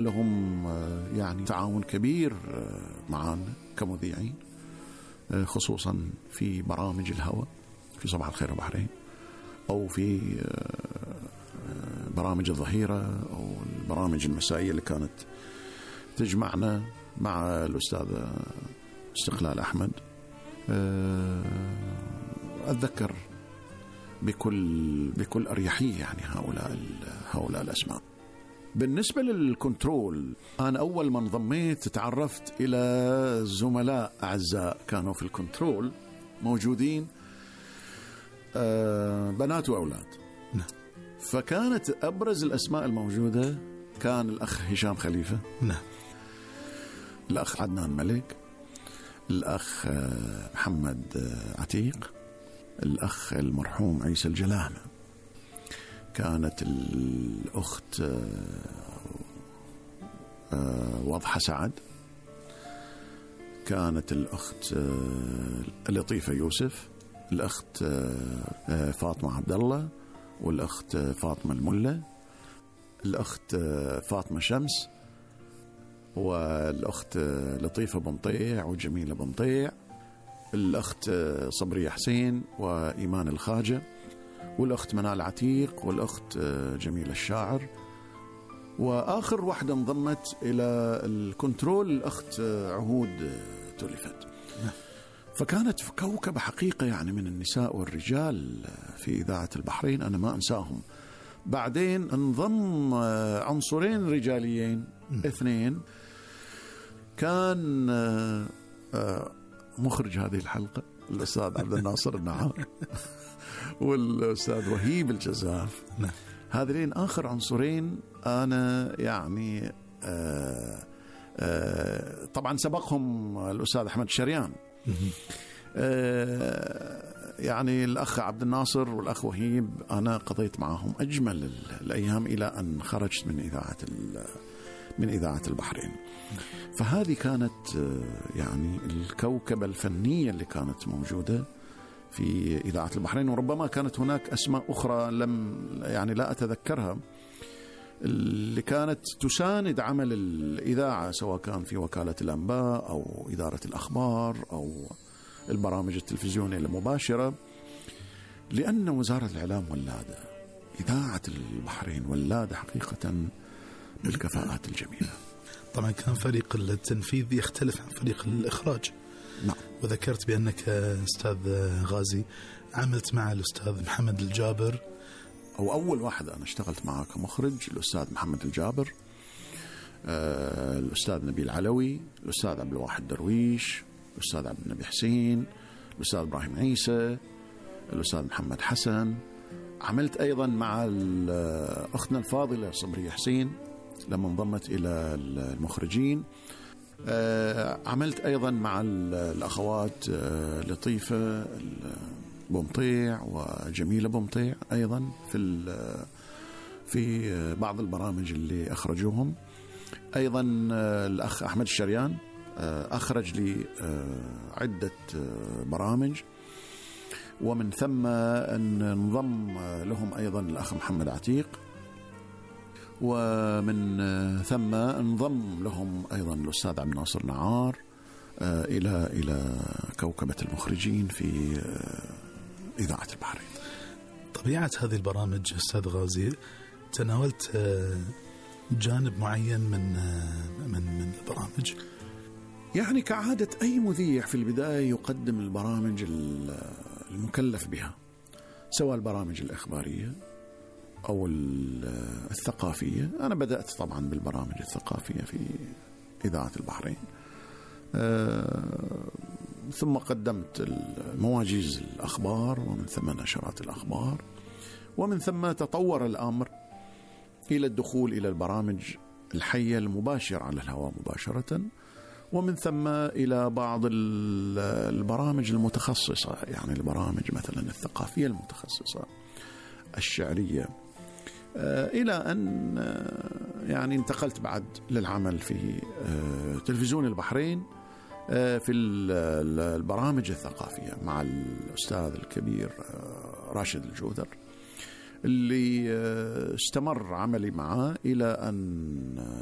لهم يعني تعاون كبير معنا كمذيعين، خصوصا في برامج الهواء في صباح الخير بحرين، أو في برامج الظهيرة أو البرامج المسائية اللي كانت تجمعنا مع الأستاذ استقلال أحمد. أتذكر بكل أريحية يعني هؤلاء الأسماء. بالنسبة للكنترول، أنا أول ما انضميت تعرفت إلى زملاء أعزاء كانوا في الكنترول موجودين، بنات وأولاد. فكانت أبرز الأسماء الموجودة كان الأخ هشام خليفة، الأخ عدنان ملك، الأخ محمد عتيق، الأخ المرحوم عيسى الجلامة، كانت الأخت وضحة سعد، كانت الأخت لطيفة يوسف، الأخت فاطمة عبد الله، والأخت فاطمة الملة، الأخت فاطمة شمس، والأخت لطيفة بمطيع وجميلة بمطيع، الأخت صبرية حسين وإيمان الخاجة، والأخت منال عتيق، والأخت جميلة الشاعر. وآخر واحدة انضمت إلى الكنترول الأخت عهود تولفت. فكانت كوكبة حقيقة يعني من النساء والرجال في إذاعة البحرين، أنا ما أنساهم. بعدين انضم عنصرين رجاليين اثنين، كان مخرج هذه الحلقة الأستاذ عبد الناصر النعار والأستاذ وهيب الجزاف. هذين آخر عنصرين أنا يعني طبعا سبقهم الأستاذ أحمد الشريان. يعني الأخ عبد الناصر والأخ وهيب أنا قضيت معهم أجمل الأيام إلى أن خرجت من إذاعة البحرين. فهذه كانت يعني الكوكبة الفنية اللي كانت موجودة في إذاعة البحرين. وربما كانت هناك أسماء أخرى يعني لا أتذكرها، اللي كانت تساند عمل الإذاعة، سواء كان في وكالة الأنباء أو إدارة الأخبار أو البرامج التلفزيونية المباشرة، لأن وزارة الإعلام ولادة، إذاعة البحرين ولادة حقيقة بالكفاءات الجميلة. طبعا كان فريق التنفيذ يختلف عن فريق الإخراج. نعم. وذكرت بأنك أستاذ غازي عملت مع الأستاذ محمد الجابر، أو أول واحد أنا اشتغلت معه كمخرج الأستاذ محمد الجابر، الأستاذ نبيل علوي، الأستاذ عبد الواحد درويش، الأستاذ عبد النبي حسين، الأستاذ إبراهيم عيسى، الأستاذ محمد حسن. عملت أيضا مع أختنا الفاضلة صبرية حسين لما انضمت إلى المخرجين. عملت أيضا مع الأخوات لطيفة بمطيع وجميلة بمطيع أيضا في بعض البرامج اللي أخرجوهم. أيضا الأخ أحمد الشريان أخرج لي عدة برامج، ومن ثم أن انضم لهم أيضا الأخ محمد عتيق، ومن ثم انضم لهم أيضا الأستاذ عبد الناصر نعار إلى كوكبة المخرجين في إذاعة البحرين. طبيعة هذه البرامج أستاذ غازي، تناولت جانب معين من البرامج؟ يعني كعادة أي مذيع في البداية يقدم البرامج المكلف بها، سواء البرامج الإخبارية أو الثقافية. أنا بدأت طبعا بالبرامج الثقافية في إذاعة البحرين، ثم قدمت مواجيز الأخبار، ومن ثم نشرات الأخبار، ومن ثم تطور الأمر إلى الدخول إلى البرامج الحية المباشرة على الهواء مباشرة، ومن ثم إلى بعض البرامج المتخصصة، يعني البرامج مثلا الثقافية المتخصصة، الشعرية، إلى أن يعني انتقلت بعد للعمل في تلفزيون البحرين في البرامج الثقافية مع الأستاذ الكبير راشد الجودر، اللي استمر عملي معه إلى أن